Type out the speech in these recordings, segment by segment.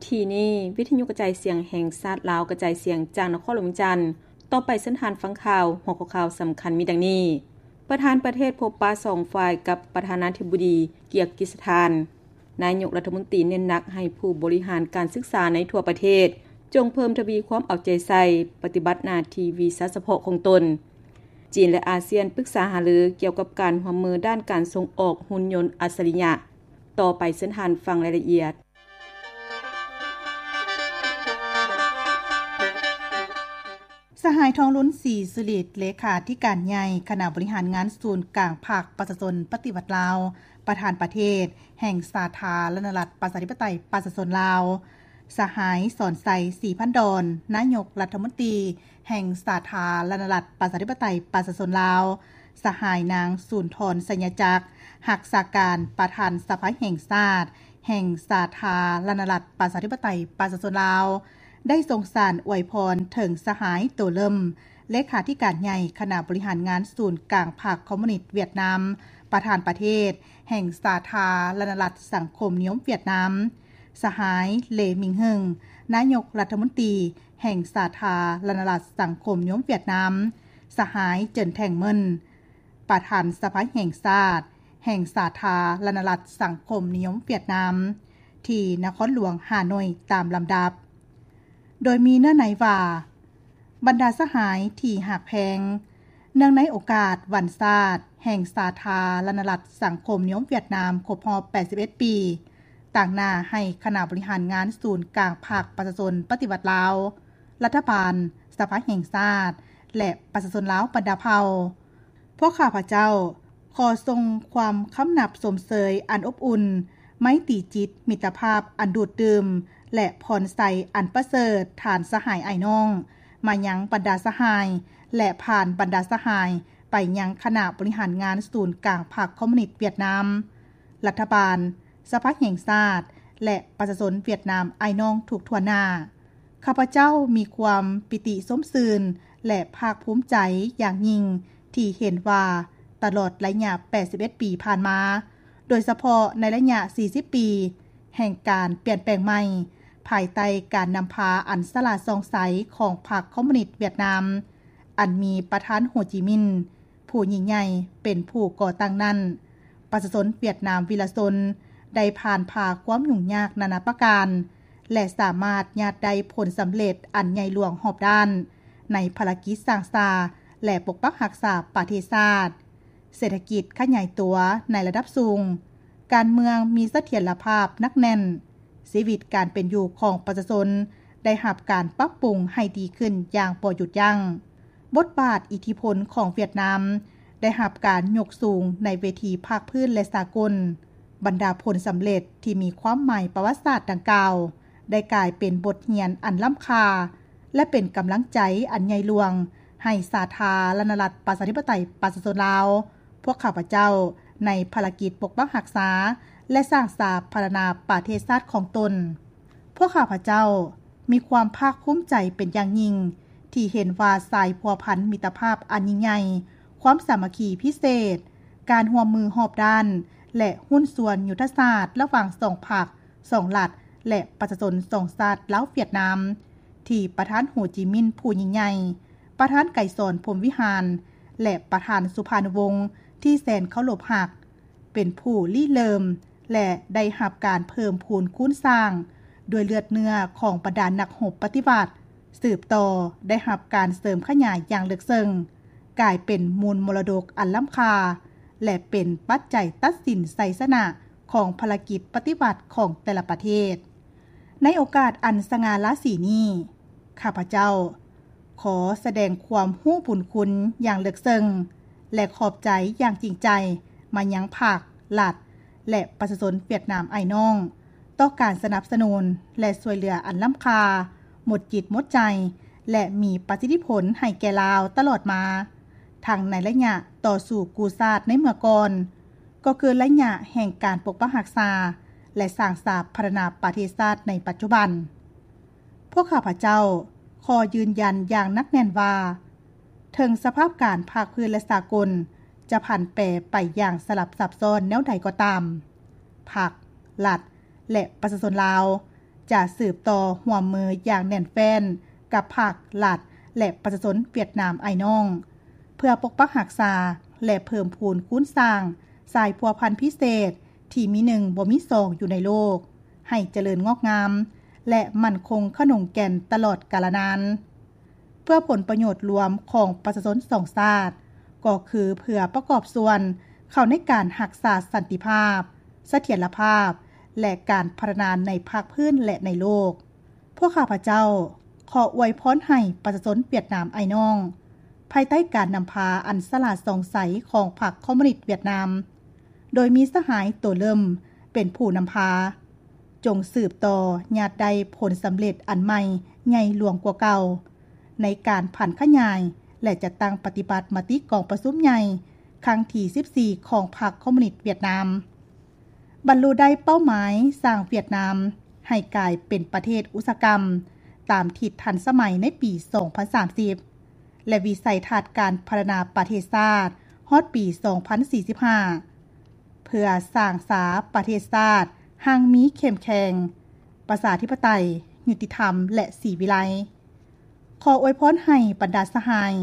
ທີ່ນີ້ ວິທະຍຸກະຈາຍສຽງແຫ່ງຊາດລາວ ກະຈາຍສຽງຈາກນະຄອນຫຼວງວຽງຈັນ. ຕໍ່ໄປເຊີນທ່ານຟັງຂ່າວ. ຫົວຂໍ້ຂ່າວສຳຄັນມີດັ່ງນີ້: ປະທານປະເທດພົບປະສອງຝ່າຍກັບປະທານາທິບໍດີກີກີສະຖານ. ນາຍົກລັດຖະມົນຕີເນັ້ນໜັກໃຫ້ຜູ້ບໍລິຫານການສຶກສາໃນທົ່ວປະເທດ ຈົ່ງເພີ່ມທະວີຄວາມເອົາໃຈໃສ່ປະຕິບັດໜ້າທີ່ວິຊາສະເພາະຂອງຕົນ. ຈີນ ແລະ ອາຊຽນປຶກສາຫາລືກ່ຽວກັບການຮ່ວມມືດ້ານການສົ່ງອອກຫຸ່ນຍົນອັດສະລິຍະ. ຕໍ່ໄປເຊີນທ່ານຟັງລາຍລະອຽດ. ສະຫາຍ ທອງລຸນ ສີສຸລິດ ເລຂາທິການໃຫຍ່ຄະນະບໍລິຫານງານສູນກາງພັກປະຊາຊົນປະຕິວັດລາວ, ປະທານປະເທດແຫ່ງສາທາລະນະລັດປະຊາທິປະໄຕປະຊາຊົນລາວ, ສະຫາຍ ສອນໄຊ ສີພັນດອນ ນາຍົກລັດຖະມົນຕີແຫ່ງສາທາລະນະລັດປະຊາທິປະໄຕປະຊາຊົນລາວ, ສະຫາຍ ນາງ ສູນທອນ ໄຊຍະຈັກ ຮັກສາການປະທານສະພາແຫ່ງຊາດ ແຫ່ງສາທາລະນະລັດປະຊາທິປະໄຕປະຊາຊົນລາວ ໄດ້ສົ່ງສານອວຍພອນເຖິງສະຫາຍ ໂຕເລິມ ເລຂາທິການໃຫຍ່ຄະນະບໍລິຫານງານສູນກາງພັກຄອມມູນິດຫວຽດນາມ, ປະທານປະເທດແຫ່ງສາທາລະນະລັດສັງຄົມນິຍົມຫວຽດນາມ, ສະຫາຍ ເລ ມິງເຫິງ ນາຍົກລັດຖະມົນຕີແຫ່ງສາທາລະນະລັດສັງຄົມນິຍົມຫວຽດນາມ, ສະຫາຍ ເຈິນ ແທງເມິນ ປະທານສະພາແຫ່ງຊາດ ແຫ່ງສາທາລະນະລັດສັງຄົມນິຍົມຫວຽດນາມ ທີ່ນະຄອນຫຼວງຮ່າໂນ້ຍຕາມລຳດັບ. ໂດຍມີເນື້ອໃນວ່າ ບັນດາສະຫາຍທີ່ຮັກແພງ, ເນື່ອງໃນໂອກາດວັນຊາດແຫ່ງສາທາລະນະລັດສັງຄົມນິຍົມຫວຽດນາມຄົບຮອບແປດສິບເອັດປີ, ຕາງໜ້າໃຫ້ຄະນະບໍລິຫານງານສູນກາງພັກປະຊາຊົນປະຕິວັດລາວ, ລັດຖະບານ, ສະພາແຫ່ງຊາດ ແລະ ປະຊາຊົນລາວບັນດາເຜົ່າ, ພວກຂ້າພະເຈົ້າຂໍສົ່ງຄວາມຄຳນັບຊົມເຊີຍອັນອົບອຸ່ນ, ໄມຕີຈິດ, ມິດຕະພາບອັນດູດດື່ມ ແລະ ພອນໄຊອັນປະເສີດ ທ່ານສະຫາຍອ້າຍນ້ອງ ມາຍັງບັນດາສະຫາຍ ແລະ ຜ່ານບັນດາສະຫາຍໄປຍັງຄະນະບໍລິຫານງານສູນກາງພັກຄອມມູນິດຫວຽດນາມ, ລັດຖະບານ, ສະພາແຫ່ງຊາດ ແລະ ປະຊາຊົນຫວຽດນາມອ້າຍນ້ອງທຸກທົ່ວໜ້າ. ຂ້າພະເຈົ້າມີຄວາມປີຕິຊົມຊື່ນ ແລະ ພາກພູມໃຈຢ່າງຍິ່ງທີ່ເຫັນວ່າຕະຫຼອດໄລຍະແປດສິບເອັດປີຜ່ານມາ, ໂດຍສະເພາະໃນໄລຍະສີ່ສິບປີແຫ່ງການປ່ຽນແປງໃໝ່ ພາຍໃຕ້ການນຳພາອັນສະຫຼາດສ່ອງໃສຂອງພັກຄອມມູນິດຫວຽດນາມ, ອັນມີປະທານ ໂຮຈິມິນ ຜູ້ຍິ່ງໃຫຍ່ເປັນຜູ້ກໍ່ຕັ້ງນັ້ນ, ປະຊາຊົນຫວຽດນາມວິລະຊົນໄດ້ຜ່ານຜ່າຄວາມຫຍຸ້ງຍາກນານາປະການ ແລະ ສາມາດຍາດໄດ້ຜົນສຳເລັດອັນໃຫຍ່ຫຼວງຮອບດ້ານ ໃນພາລະກິດສ້າງສາ ແລະ ປົກປັກຮັກສາປະເທດຊາດ, ເສດຖະກິດຂະຫຍາຍຕົວໃນລະດັບສູງ, ການເມືອງມີສະຖຽນລະພາບໜັກແໜ້ນ, ຊີວິດການເປັນຢູ່ຂອງປະຊາຊົນໄດ້ຮັບການປັບປຸງໃຫ້ດີຂຶ້ນຢ່າງບໍ່ຢຸດຢັ້ງ. ບົດບາດອິດທິພົນຂອງຫວຽດນາມໄດ້ຮັບການຍົກສູງໃນເວທີພາກພື້ນ ແລະ ສາກົນ. ບັນດາຜົນສຳເລັດທີ່ມີຄວາມໝາຍປະຫວັດສາດດັ່ງກ່າວ ໄດ້ກາຍເປັນບົດຮຽນອັນລ້ຳຄ່າ ແລະ ເປັນກຳລັງໃຈອັນໃຫຍ່ຫຼວງໃຫ້ສາທາລະນະລັດປະຊາທິປະໄຕປະຊາຊົນລາວ, ພວກຂ້າພະເຈົ້າ ໃນພາລະກິດປົກປັກຮັກສາ ແລະ ສ້າງສາພັດທະນາປະເທດຊາດຂອງຕົນ. ພວກຂ້າພະເຈົ້າມີຄວາມພາກພູມໃຈເປັນຢ່າງຍິ່ງ ທີ່ເຫັນວ່າສາຍພົວພັນມິດຕະພາບອັນຍິ່ງໃຫຍ່, ຄວາມສາມັກຄີພິເສດ, ການຮ່ວມມືຮອບດ້ານ ແລະ ຫຸ້ນສ່ວນຍຸດທະສາດລະຫວ່າງສອງພັກ, ສອງລັດ ແລະ ປະຊາຊົນສອງຊາດລາວຫວຽດນາມ ທີ່ປະທານ ໂຮຈິມິນ ຜູ້ຍິ່ງໃຫຍ່, ປະທານ ໄກສອນ ພົມວິຫານ ແລະ ປະທານ ສຸພານຸວົງ ທີ່ແສນເຄົາລົບຮັກ ເປັນຜູ້ລິເລີ່ມ ແລະ ໄດ້ຮັບການເພີ່ມພູນຄູນສ້າງດ້ວຍເລືອດເນື້ອຂອງບັນດານັກຮົບປະຕິວັດ, ສືບຕໍ່ໄດ້ຮັບການເສີມຂະຫຍາຍຢ່າງເລິກເຊິ່ງ, ກາຍເປັນມູນມໍລະດົກອັນລ້ຳຄ່າ ແລະ ເປັນປັດໄຈຕັດສິນໄຊຊະນະຂອງພາລະກິດປະຕິວັດຂອງແຕ່ລະປະເທດ. ໃນໂອກາດອັນສະຫງ່າລາສີນີ້, ຂ້າພະເຈົ້າ ຂໍສະແດງຄວາມຮູ້ບຸນຄຸນຢ່າງເລິກເຊິ່ງ ແລະ ຂອບໃຈຢ່າງຈິງໃຈມາຍັງພັກ, ລັດ ແລະ ປະຊາຊົນຫວຽດນາມອ້າຍນ້ອງ ຕໍ່ການສະໜັບສະໜູນ ແລະ ຊ່ວຍເຫຼືອອັນລ້ຳຄ່າ, ໝົດຈິດໝົດໃຈ ແລະ ມີປະສິດທິຜົນໃຫ້ແກ່ລາວຕະຫຼອດມາ, ທັງໃນໄລຍະຕໍ່ສູ້ກູ້ຊາດໃນເມື່ອກ່ອນ, ກໍຄືໄລຍະແຫ່ງການປົກປັກຮັກສາ ແລະ ສ້າງສາພັດທະນາປະເທດຊາດໃນປັດຈຸບັນ. ພວກຂ້າພະເຈົ້າຂໍຢືນຢັນຢ່າງໜັກແໜ້ນວ່າ ເຖິງສະພາບການພາກພື້ນ ແລະ ສາກົນຈະຜັນແປໄປຢ່າງສະຫຼັບຊັບຊ້ອນແນວໃດກໍຕາມ, ພັກ, ລັດ ແລະ ປະຊາຊົນລາວ ຈະສືບຕໍ່ຮ່ວມມືຢ່າງແໜ້ນແຟ້ນກັບພັກ, ລັດ ແລະ ປະຊາຊົນຫວຽດນາມອ້າຍນ້ອງ ເພື່ອປົກປັກຮັກສາ ແລະ ເພີ່ມພູນຄູນສ້າງສາຍພົວພັນພິເສດທີ່ມີໜຶ່ງບໍ່ມີສອງຢູ່ໃນໂລກ ໃຫ້ຈະເລີນງອກງາມ ແລະ ໝັ້ນຄົງຂະໜົງແກ່ນຕະຫຼອດກາລະນານ. ເພື່ອຜົນປະໂຫຍດລວມຂອງປະຊາຊົນສອງຊາດ ກໍຄືເພື່ອປະກອບສ່ວນເຂົ້າໃນການຮັກສາສັນຕິພາບ, ສະຖຽນລະພາບ ແລະ ການພັດທະນາໃນພາກພື້ນ ແລະ ໃນໂລກ. ພວກຂ້າພະເຈົ້າຂໍອວຍພອນໃຫ້ປະຊາຊົນຫວຽດນາມອ້າຍນ້ອງ ພາຍໃຕ້ການນຳພາອັນສະຫຼາດສ່ອງໃສຂອງພັກຄອມມູນິດຫວຽດນາມ ໂດຍມີສະຫາຍໂຕເລີ່ມເປັນຜູ້ນຳພາ, ຈົ່ງສືບຕໍ່ຍາດໄດ້ຜົນສຳເລັດອັນໃໝ່ໃຫຍ່ຫຼວງກວ່າເກົ່າ ໃນການຜັນຂະຫຍາຍ ແລະ ຈັດຕັ້ງປະຕິບັດມະຕິກອງປະຊຸມໃຫຍ່ຄັ້ງທີສິບສີ່ຂອງພັກຄອມມູນິດຫວຽດນາມ. ບັນລຸໄດ້ເປົ້າໝາຍສ້າງຫວຽດນາມໃຫ້ກາຍເປັນປະເທດອຸດສາຫະກຳຕາມທິດທັນສະໄໝໃນປີສອງພັນສາມສິບ ແລະ ວິໄສທັດການພັດທະນາປະເທດຊາດຮອດປີສອງພັນສີ່ສິບຫ້າ ເພື່ອສ້າງສາປະເທດຊາດຮັ່ງມີເຂັ້ມແຂງ, ປະຊາທິປະໄຕ, ຍຸຕິທຳ ແລະ ສີວິໄລ. ຂໍອວຍພອນໃຫ້ບັນດາສະຫາຍ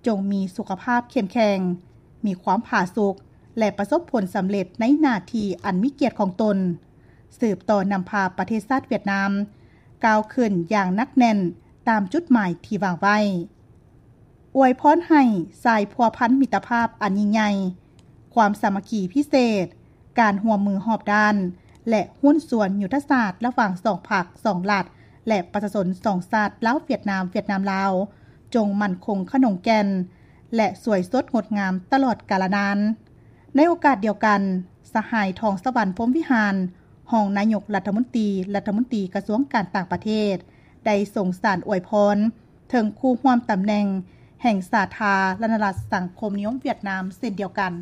ຈົ່ງມີສຸຂະພາບເຂັ້ມແຂງ, ມີຄວາມຜາສຸກ ແລະ ປະສົບຜົນສຳເລັດໃນໜ້າທີ່ອັນມີກຽດຂອງຕົນ, ສືບຕໍ່ນຳພາປະເທດຊາດຫວຽດນາມກ້າວຂຶ້ນຢ່າງໜັກແໜ້ນຕາມຈຸດໝາຍທີ່ວາງໄວ້. ອວຍພອນໃຫ້ສາຍພົວພັນມິດຕະພາບອັນຍິ່ງໃຫຍ່, ຄວາມສາມັກຄີພິເສດ, ການຮ່ວມມືຮອບດ້ານ ແລະ ຫຸ້ນສ່ວນຍຸດທະສາດລະຫວ່າງສອງພັກ, ສອງລັດ ແລະ ປະຊາຊົນສອງຊາດ ລາວ-ຫວຽດນາມ, ຫວຽດນາມ-ລາວ ຈົ່ງໝັ້ນຄົງຂະໜົງແກ່ນ ແລະ ສວຍສົດງົດງາມຕະຫຼອດກາລະນານ. ໃນໂອກາດດຽວກັນ, ສະຫາຍ ທອງສະຫວັນ ພົມວິຫານ ຮອງນາຍົກລັດຖະມົນຕີ, ລັດຖະມົນຕີກະຊວງການຕ່າງປະເທດ ໄດ້ສົ່ງສານອວຍພອນເຖິງຄູ່ຮ່ວມຕຳແໜ່ງແຫ່ງສາທາລະນະລັດສັງຄົມນິຍົມຫວຽດນາມເຊັ່ນດຽວກັນ.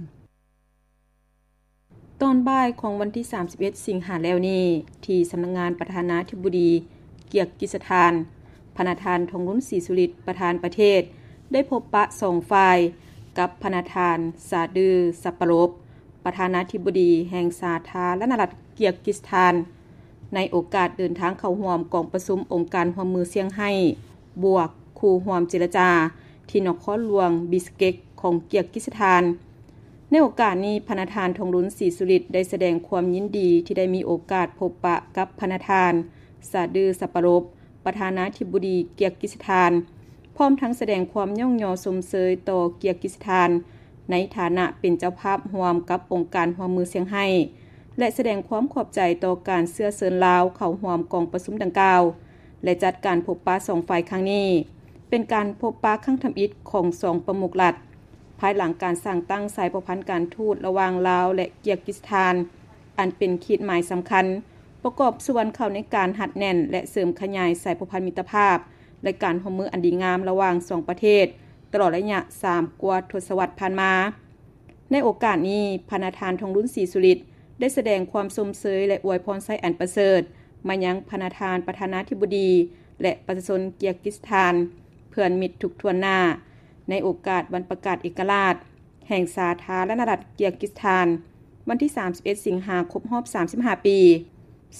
ຕອນບ່າຍຂອງວັນທີສາມສິບເອັດ ສິງຫາແລ້ວນີ້, ທີ່ສຳນັກງານປະທານາທິບໍດີກຽກກິສຖານ, ພະນະທ່ານ ທອງລຸນ ສີສຸລິດ ປະທານປະເທດ ໄດ້ພົບປະສອງຝ່າຍກັບພະນະທ່ານ ຊາດື ຊາປາໂລບ ປະທານາທິບໍດີແຫ່ງສາທາລະນະລັດກຽກກິສຖານ ໃນໂອກາດເດີນທາງເຂົ້າຮ່ວມກອງປະຊຸມອົງການຮ່ວມມືຊຽງໄຮ້ ບວກ ຄູ່ຮ່ວມເຈລະຈາ ທີ່ນະຄອນຫຼວງບິສເກັກຂອງກຽກກິສຖານ. ໃນໂອກາດນີ້, ພະນະທ່ານ ທອງລຸນ ສີສຸລິດ ໄດ້ສະແດງຄວາມຍິນດີທີ່ໄດ້ມີໂອກາດພົບປະກັບພະນະທ່ານ ຊາດື ຊາປາໂລບ ປະທານາທິບໍດີກຽກກິສຖານ, ພ້ອມທັງສະແດງຄວາມຍ້ອງຍໍຊົມເຊີຍຕໍ່ກຽກກິສຖານ ໃນຖານະເປັນເຈົ້າພາບຮ່ວມກັບອົງການຮ່ວມມືຊຽງໄຮ້ ແລະ ສະແດງຄວາມຂອບໃຈຕໍ່ການເຊື້ອເຊີນລາວເຂົ້າຮ່ວມກອງປະຊຸມດັ່ງກ່າວ ແລະ ຈັດການພົບປະສອງຝ່າຍຄັ້ງນີ້ ເປັນການພົບປະຄັ້ງທຳອິດຂອງສອງປະມຸກລັດ ພາຍຫຼັງການສ້າງຕັ້ງສາຍພົວພັນການທູດລະຫວ່າງລາວ ແລະ ກຽກກິສຖານ ອັນເປັນຂີດໝາຍສຳຄັນ ປະກອບສ່ວນເຂົ້າໃນການຮັດແໜ້ນ ແລະ ເສີມຂະຫຍາຍສາຍພົວພັນມິດຕະພາບ ແລະ ການຮ່ວມມືອັນດີງາມລະຫວ່າງສອງປະເທດ ຕະຫຼອດໄລຍະສາມກວ່າທົດສະວັດຜ່ານມາ. ໃນໂອກາດນີ້, ພະນະທ່ານ ທອງລຸນ ສີສຸລິດ ໄດ້ສະແດງຄວາມຊົມເຊີຍ ແລະ ອວຍພອນໄຊອັນປະເສີດມາຍັງພະນະທ່ານປະທານາທິບໍດີ ແລະ ປະຊາຊົນກຽກກິສຖານ ເພື່ອນມິດທຸກຖ້ວນໜ້າ ໃນໂອກາດວັນປະກາດເອກະລາດ ແຫ່ງສາທາລະນະລັດກຽກກິສຖານ ວັນທີສາມສິບເອັດ ສິງຫາ ຄົບຮອບສາມສິບຫ້າປີ.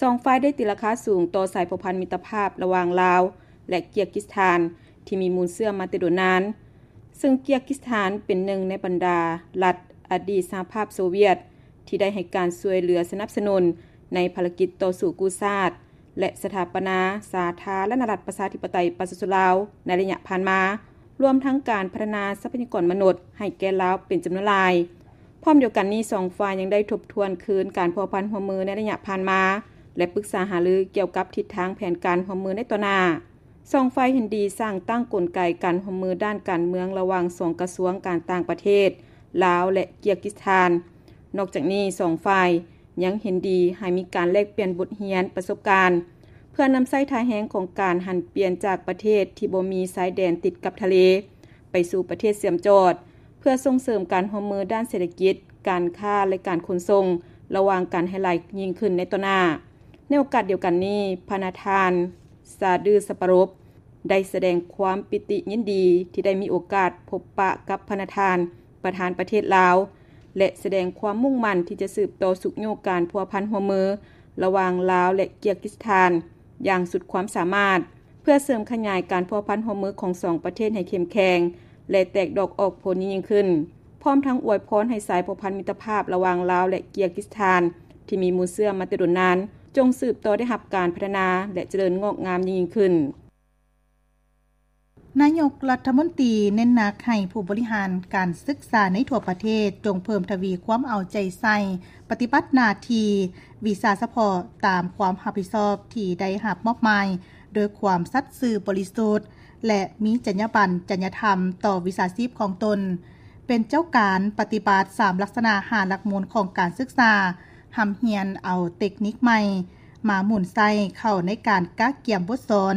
ສອງຝ່າຍໄດ້ຕີລາຄາສູງຕໍ່ສາຍພົວພັນມິດຕະພາບລະຫວ່າງລາວ ແລະ ກຽກກິສຖານ ທີ່ມີມູນເຊື້ອມາແຕ່ດົນນານ, ເຊິ່ງກຽກກິສຖານເປັນໜຶ່ງໃນບັນດາລັດອະດີດສະຫະພາບໂຊວຽດ ທີ່ໄດ້ໃຫ້ການຊ່ວຍເຫຼືອສະໜັບສະໜູນໃນພາລະກິດຕໍ່ສູ້ກູ້ຊາດ ແລະ ສະຖາປະນາສາທາລະນະລັດປະຊາທິປະໄຕປະຊາຊົນລາວໃນໄລຍະຜ່ານມາ, ລວມທັງການພັດທະນາຊັບພະຍາກອນມະນຸດໃຫ້ແກ່ລາວເປັນຈຳນວນຫຼາຍ. ພ້ອມດຽວກັນນີ້, ສອງຝ່າຍຍັງໄດ້ທົບທວນຄືນການພົວພັນຮ່ວມມືໃນໄລຍະຜ່ານມາ ແລະ ປຶກສາຫາລືກ່ຽວກັບທິດທາງແຜນການຮ່ວມມືໃນຕໍ່ໜ້າ. ສອງຝ່າຍເຫັນດີສ້າງຕັ້ງກົນໄກການຮ່ວມມືດ້ານການເມືອງລະຫວ່າງສອງກະຊວງການຕ່າງປະເທດລາວ ແລະ ກຽກກິສຖານ. ນອກຈາກນີ້, ສອງຝ່າຍ ຍັງເຫັນດີໃຫ້ມີການແລກປ່ຽນບົດຮຽນປະສົບການ ເພື່ອນຳໃຊ້ທ່າແຮງຂອງການຫັນປ່ຽນຈາກປະເທດທີ່ບໍ່ມີຊາຍແດນຕິດກັບທະເລ ໄປສູ່ປະເທດເຊື່ອມຈອດ ເພື່ອສົ່ງເສີມການຮ່ວມມືດ້ານເສດຖະກິດ, ການຄ້າ ແລະ ການຂົນສົ່ງ ລະຫວ່າງກັນໃຫ້ຫຼາຍຍິ່ງຂຶ້ນໃນຕໍ່ໜ້າ. ໃນໂອກາດດຽວກັນນີ້, ພະນະທ່ານ ຊາດື ຊາປາໂຣບ ໄດ້ສະແດງຄວາມປີຕິຍິນດີທີ່ໄດ້ມີໂອກາດພົບປະກັບພະນະທ່ານປະທານປະເທດລາວ ແລະ ສະແດງຄວາມມຸ່ງໝັ້ນທີ່ຈະສືບຕໍ່ຊຸກຍູ້ການພົວພັນຮ່ວມມືລະຫວ່າງລາວ ແລະ ກຽກກິສຖານ ຢ່າງສຸດຄວາມສາມາດ ເພື່ອເສີມຂະຫຍາຍການພົວພັນຮ່ວມມືຂອງສອງປະເທດໃຫ້ເຂັ້ມແຂງ ແລະ ແຕກດອກອອກຜົນຍິ່ງໆຂຶ້ນ, ພ້ອມທັງອວຍພອນໃຫ້ສາຍພົວພັນມິດຕະພາບລະຫວ່າງລາວ ແລະ ກີລາກິສຖານ ທີ່ມີມູນເຊື້ອມາແຕ່ດົນນານ ຈົ່ງສືບຕໍ່ໄດ້ຮັບການພັດທະນາ ແລະ ຈະເລີນງອກງາມຍິ່ງໆຂຶ້ນ. ນາຍົກລັດຖະມົນຕີເນັ້ນໜັກໃຫ້ຜູ້ບໍລິຫານການສຶກສາໃນທົ່ວປະເທດ ຈົ່ງເພີ່ມທະວີຄວາມເອົາໃຈໃສ່ປະຕິບັດໜ້າທີ່ວິຊາສະເພາະຕາມຄວາມຮັບຜິດຊອບທີ່ໄດ້ຮັບມອບໝາຍ ໂດຍຄວາມສັດຊື່ບໍລິສຸດ ແລະ ມີຈັນຍາບັນ, ຈັນຍາທຳຕໍ່ວິຊາຊີບຂອງຕົນ, ເປັນເຈົ້າການປະຕິບັດສາມລັກສະນະຫ້າຫຼັກມູນຂອງການສຶກສາ, ຮ່ຳຮຽນເອົາເຕັກນິກໃໝ່ມາໝູນໃຊ້ເຂົ້າໃນການກະກຽມບົດສອນ,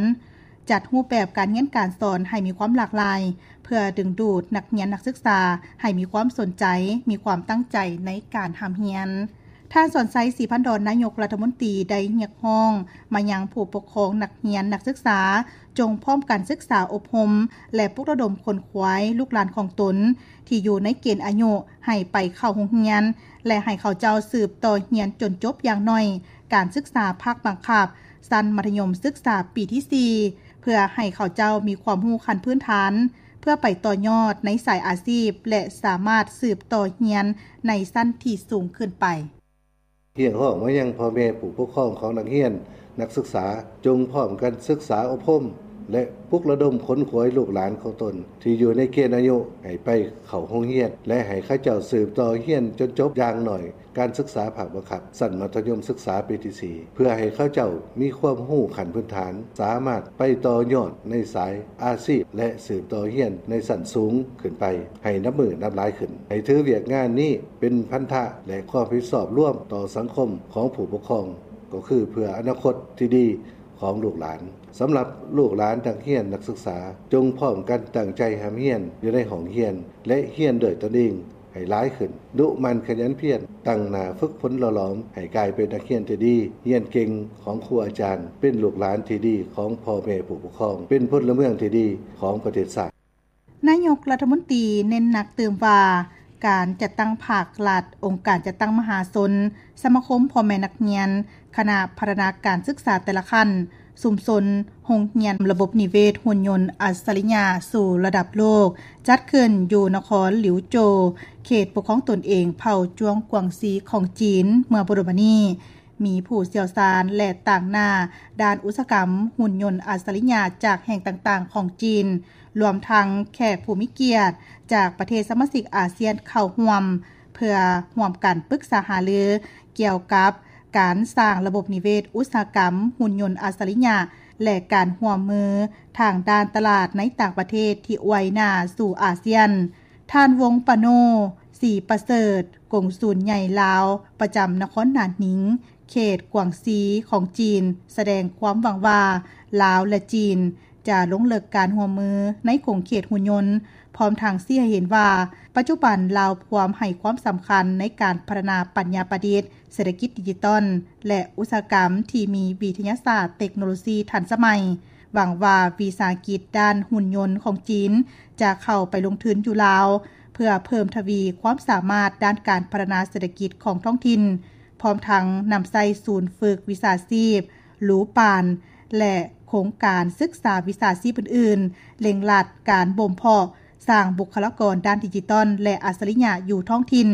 ຈັດຮູບແບບການຮຽນການສອນໃຫ້ມີຄວາມຫຼາກຫຼາຍ ເພື່ອດຶງດູດນັກຮຽນນັກສຶກສາໃຫ້ມີຄວາມສົນໃຈ, ມີຄວາມຕັ້ງໃຈໃນການຮ່ຳຮຽນ. ທ່ານ ສອນໄຊ ສີພັນດອນ ນາຍົກລັດຖະມົນຕີໄດ້ຮຽກຮ້ອງມາຍັງຜູ້ປົກຄອງນັກຮຽນນັກສຶກສາ ຈົ່ງພ້ອມກັນສຶກສາອົບຮົມ ແລະ ປຸກລະດົມຂົນຂວາຍລູກຫຼານຂອງຕົນທີ່ຢູ່ໃນເກນອາຍຸໃຫ້ໄປເຂົ້າໂຮງຮຽນ ແລະ ໃຫ້ເຂົາເຈົ້າສືບຕໍ່ຮຽນຈົນຈົບຢ່າງໜ້ອຍການສຶກສາພາກບັງຄັບ ຊັ້ນມັດທະຍົມສຶກສາປີທີສີ່ ເພື່ອໃຫ້ເຂົາເຈົ້າມີຄວາມຮູ້ຂັ້ນພື້ນຖານ ເພື່ອໄປຕໍ່ຍອດໃນສາຍອາຊີບ ແລະ ສາມາດສືບຕໍ່ຮຽນໃນຊັ້ນທີ່ສູງຂຶ້ນໄປ. ຮຽກຮ້ອງມາຍັງພໍ່ແມ່ຜູ້ປົກຄອງຂອງນັກຮຽນນັກສຶກສາ ຈົ່ງພ້ອມກັນສຶກສາອົບຮົມ ແລະ ປຸກລະດົມຂົນຂວາຍລູກຫຼານຂອງຕົນທີ່ຢູ່ໃນເກນອາຍຸໃຫ້ໄປເຂົ້າໂຮງຮຽນ ແລະ ໃຫ້ເຂົາເຈົ້າສືບຕໍ່ຮຽນຈົນຈົບຢ່າງໜ້ອຍ ການສຶກສາພາກບັງຄັບຊັ້ນມັດທະຍົມສຶກສາປີທີສີ່ ເພື່ອໃຫ້ເຂົາເຈົ້າມີຄວາມຮູ້ຂັ້ນພື້ນຖານ, ສາມາດໄປຕໍ່ຍອດໃນສາຍອາຊີບ ແລະ ສືບຕໍ່ຮຽນໃນຊັ້ນສູງຂຶ້ນໄປໃຫ້ນັບມື້ນັບຫຼາຍຂຶ້ນ. ໃຫ້ຖືວຽກງານນີ້ເປັນພັນທະ ແລະ ຄວາມຮັບຜິດຊອບລວມຕໍ່ສັງຄົມຂອງຜູ້ປົກຄອງ, ກໍຄືເພື່ອອະນາຄົດທີ່ດີຂອງລູກຫຼານ. ສຳລັບລູກຫຼານນັກຮຽນນັກສຶກສາ, ຈົ່ງພ້ອມກັນຕັ້ງໃຈຮ່ຳຮຽນຢູ່ໃນຫ້ອງຮຽນ ແລະ ຮຽນດ້ວຍຕົນເອງ ໃຫ້ຫຼາຍຂຶ້ນ, ດຸໝັ່ນຂະຫຍັນພຽນ, ຕັ້ງໜ້າຝຶກຝົນຫຼໍ່ຫຼອມໃຫ້ກາຍເປັນນັກຮຽນທີ່ດີ, ຮຽນເກັ່ງຂອງຄູອາຈານ, ເປັນລູກຫຼານທີ່ດີຂອງພໍ່ແມ່ຜູ້ປົກຄອງ, ເປັນພົນລະເມືອງທີ່ດີຂອງປະເທດຊາດ. ນາຍົກລັດຖະມົນຕີເນັ້ນໜັກຕື່ມວ່າ ການຈັດຕັ້ງພາກລັດ, ອົງການຈັດຕັ້ງມະຫາຊົນ, ສະມາຄົມພໍ່ແມ່ນັກຮຽນ, ຄະນະພັດທະນາການສຶກສາແຕ່ລະຂັ້ນ, ຊຸມຊົນ, ໂຮງຮຽນລະບົບນິເວດຫຸ່ນຍົນອັດສະລິຍະສູ່ລະດັບໂລກ ຈັດຂຶ້ນຢູ່ນະຄອນຫຼິວໂຈວ, ເຂດປົກຄອງຕົນເອງເຜົ່າຈວງກວາງຊີຂອງຈີນ ເມື່ອບໍ່ດົນມານີ້. ມີຜູ້ຊ່ຽວຊານ ແລະ ຕາງໜ້າດ້ານອຸດສາຫະກຳຫຸ່ນຍົນອັດສະລິຍະຈາກແຫ່ງຕ່າງໆຂອງຈີນ, ລວມທັງແຂກຜູ້ມີກຽດຈາກປະເທດສະມາຊິກອາຊຽນເຂົ້າຮ່ວມ, ເພື່ອຮ່ວມກັນປຶກສາຫາລືກ່ຽວກັບ ການສ້າງລະບົບນິເວດອຸດສາຫະກຳຫຸ່ນຍົນອັດສະລິຍະ ແລະ ການຮ່ວມມືທາງດ້ານຕະຫຼາດໃນຕ່າງປະເທດທີ່ອວຍໜ້າສູ່ອາຊຽນ. ທ່ານ ວົງປະໂນ ສີປະເສີດ, ກົງສູນໃຫຍ່ລາວປະຈຳນະຄອນໜານນິງ, ເຂດກວາງຊີຂອງຈີນ, ສະແດງຄວາມຫວັງວ່າ ລາວ ແລະ ຈີນ ຈະລົງເລິກການຮ່ວມມືໃນຂົງເຂດຫຸ່ນຍົນ, ພ້ອມທັງຊີ້ໃຫ້ເຫັນວ່າ ປັດຈຸບັນລາວພວມໃຫ້ຄວາມສຳຄັນໃນການພັດທະນາປັນຍາປະດິດ, ເສດຖະກິດດິຈິຕອນ ແລະ ອຸດສາຫະກຳທີ່ມີວິທະຍາສາດເຕັກໂນໂລຊີທັນສະໄໝ, ຫວັງວ່າວິສາຫະກິດດ້ານຫຸ່ນຍົນຂອງຈີນຈະເຂົ້າໄປລົງທຶນຢູ່ລາວ ເພື່ອເພີ່ມທະວີຄວາມສາມາດດ້ານການພັດທະນາເສດຖະກິດຂອງທ້ອງຖິ່ນ, ພ້ອມທັງນຳໃຊ້ສູນຝຶກວິຊາຊີບ ລູປານ ແລະ ໂຄງການສຶກສາວິຊາຊີບອື່ນໆ, ເລັ່ງລັດການບົ່ມເພາະສ້າງບຸກຄະລາກອນດ້ານດິຈິຕອນ ແລະ ອັດສະລິຍະຢູ່ທ້ອງຖິ່ນ.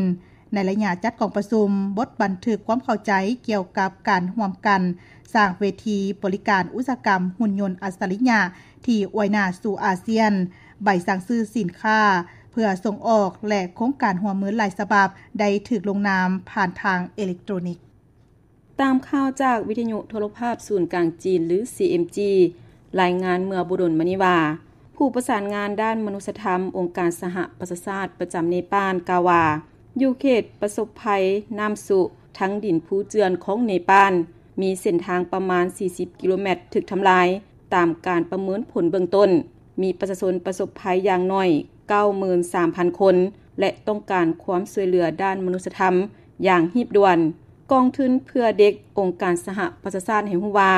ໃນໄລຍະຈັດກອງປະຊຸມ, ບົດບັນທຶກຄວາມເຂົ້າໃຈກ່ຽວກັບການຮ່ວມກັນສ້າງເວທີບໍລິການອຸດສາຫະກຳຫຸ່ນຍົນອັດສະລິຍະທີ່ອວຍໜ້າສູ່ອາຊຽນ, ໃບສັ່ງຊື້ສິນຄ້າເພື່ອສົ່ງອອກ ແລະ ໂຄງການຮ່ວມມືຫຼາຍສະບັບໄດ້ຖືກລົງນາມຜ່ານທາງເອເລັກໂຕຣນິກ. ຕາມຂ່າວຈາກວິທະຍຸໂທລະພາບສູນກາງຈີນ ຫຼື ຊີເອັມຈີ ລາຍງານເມື່ອບໍ່ດົນມານີ້ວ່າ ຜູ້ປະສານງານດ້ານມະນຸດສະທຳອົງການສະຫະປະຊາຊາດປະຈຳເນປານກ່າວວ່າ ຢູ່ເຂດປະສົບໄພນ້ຳຊຸທັງດິນພູເຈື່ອນຂອງເນປານ ມີເສັ້ນທາງປະມານສີ່ສິບກິໂລແມັດຖືກທຳລາຍ. ຕາມການປະເມີນຜົນເບື້ອງຕົ້ນ, ມີປະຊາຊົນປະສົບໄພຢ່າງໜ້ອຍເກົ້າໝື່ນສາມພັນຄົນ ແລະ ຕ້ອງການຄວາມຊ່ວຍເຫຼືອດ້ານມະນຸດສະທຳຢ່າງຮີບດ່ວນ. ກອງທຶນເພື່ອເດັກອົງການສະຫະປະຊາຊາດໃຫ້ຮູ້ວ່າ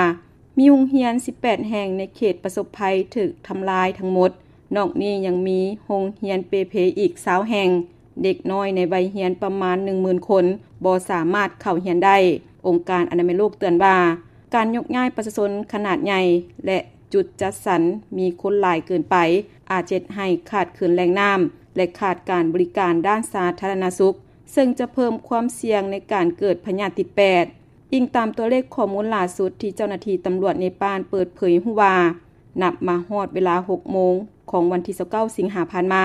ມີໂຮງຮຽນສິບແປດແຫ່ງໃນເຂດປະສົບໄພຖືກທຳລາຍທັງໝົດ. ນອກນີ້ຍັງມີໂຮງຮຽນເປ່ເພອີກຊາວແຫ່ງ. ເດັກນ້ອຍໃນໄວຮຽນປະມານໜຶ່ງໝື່ນຄົນ ບໍ່ສາມາດເຂົ້າຮຽນໄດ້. ອົງການອະນາໄມໂລກເຕືອນວ່າ ການຍົກຍ້າຍປະຊາຊົນຂະໜາດໃຫຍ່ ແລະ ຈຸດຈັດສັນມີຄົນຫຼາຍເກີນໄປ ອາດເຮັດໃຫ້ຂາດເຂີນແຫຼ່ງນ້ຳ ແລະ ຂາດການບໍລິການດ້ານສາທາລະນະສຸກ ເຊິ່ງຈະເພີ່ມຄວາມສ່ຽງໃນການເກີດພະຍາດຕິດແປດ. ອີງຕາມຕົວເລກຂໍ້ມູນຫຼ້າສຸດທີ່ເຈົ້າໜ້າທີ່ຕຳຫຼວດເນປານເປີດເຜີຍຮູ້ວ່າ ນັບມາຮອດເວລາຫົກໂມງຂອງວັນທີຊາວເກົ້າສິງຫາຜ່ານມາ,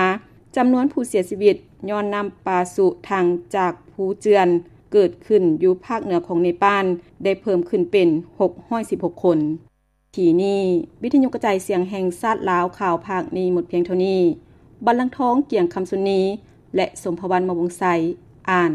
ຈຳນວນຜູ້ເສຍຊີວິດຍ້ອນນ້ຳປາຊຸທັງຈາກພູເຈື່ອນເກີດຂຶ້ນຢູ່ພາກເໜືອຂອງເນປານ ໄດ້ເພີ່ມຂຶ້ນເປັນຫົກຮ້ອຍສິບຫົກຄົນ. ທີ່ນີ້ ວິທະຍຸກະຈາຍສຽງແຫ່ງຊາດລາວ ຂ່າວພາກນີ້ໝົດພຽງເທົ່ານີ້. ບັນລັງທອງ ກຽງຄຳຊຸນນີ ແລະ ສົມພະວັນ ມະວົງໄຊ ອ່ານ.